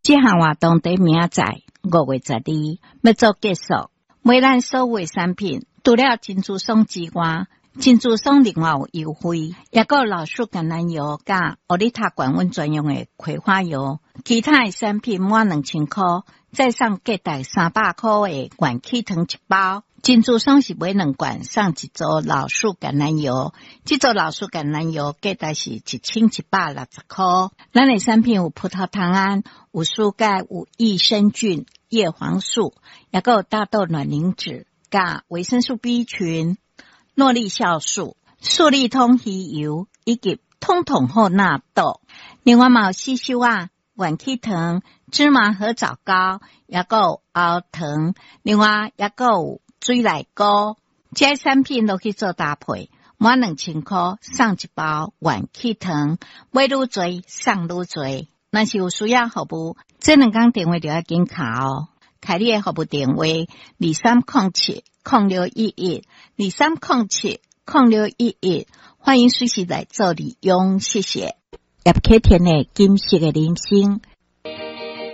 這項活動佇明仔載5月12欲做結束，買咱所有的產品，除了珍珠爽之外，珍珠爽另外有優惠，抑閣有老樹橄欖油佮奧利塔管溫專用的葵花油，其他的產品滿2000箍，再送價值300箍的元氣糖一包。珍珠爽是買兩罐送一組老樹橄欖油，這組老樹橄欖油價值是1160箍。咱的產品有葡萄糖胺、有舒鈣、有益生菌、葉黃素，抑閣有大豆卵磷脂、佮維生素 B 群、諾麗酵素、素利通魚油以及通通好納豆。另外嘛有吸收啊、元氣糖、芝麻褐藻膏，抑閣有喉糖，另外抑閣有水內膏，這些產品攏去做搭配，滿2000箍送一包元氣糖，買愈濟送愈濟。若是有需要服務，這兩工電話就要緊敲哦。凱麗的服務電話：2307-0611，2307-0611，歡迎隨時來做利用，謝謝。葉啟田的金色的人生。